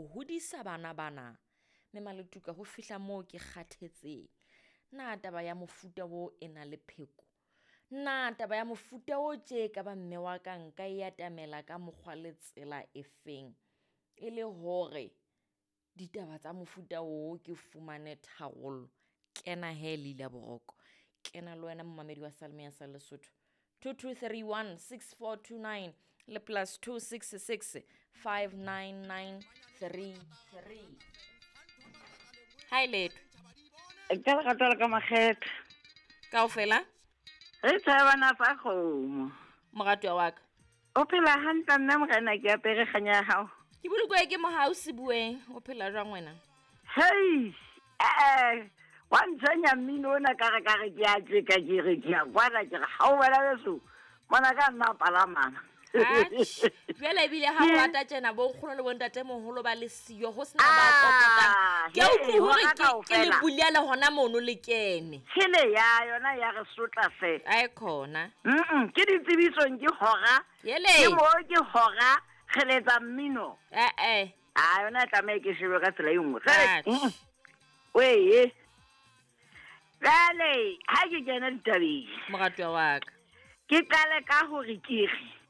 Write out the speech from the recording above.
ho hodisa bana bana. Mme Maletuka ho fihla moo ke kgathetseng. Na taba ya mofuta wo e na le pheko? Na taba ya mofuta o tje ka ba mme wa ka nka e atamela ka mokgwa le tsela efeng? E le hore ditaba tsa mofuta oo ke fumane tharollo. Kena he Leila Boroko. Kena le wena momamedi wa Salome ya sa Lesotho. 2231 6429 le plus 266 59933. Hi Leto. Ka lerato la ka makgetha. Kaofela? Re tshabana fa kgomo. Moratuwa wa ka. O phela hantle nna morena ke apere kganya ya hao. Ke bolokoe ke mohau sebueng. O phela jwang wena? Hei! Eh, wa ntshwenya mmino ona ka re ka re ke a tjeka ke re ke a kwana ke re ha o wena beso. Mona ka nna palamana. Atjhe, jwale ebile ha o rata tjena bo nkgono le bontatemoholo ba le siyo ho sena ba kokotang. Ke a utlwe hore ke le bulela hona mono le kene. Tshele ya yona ya re sotla fe. Ae khona. Ke ditsebisong ke hora. Yele. Ke mo ke hora re letsa mmino. Eh eh. A yona e tlameha ke shebe ka tsela e nngwe. Atjhe. Wee. Jwale ha ke kena ditabeng. Moratuwa wa ka. Ke qale ka hore ke re.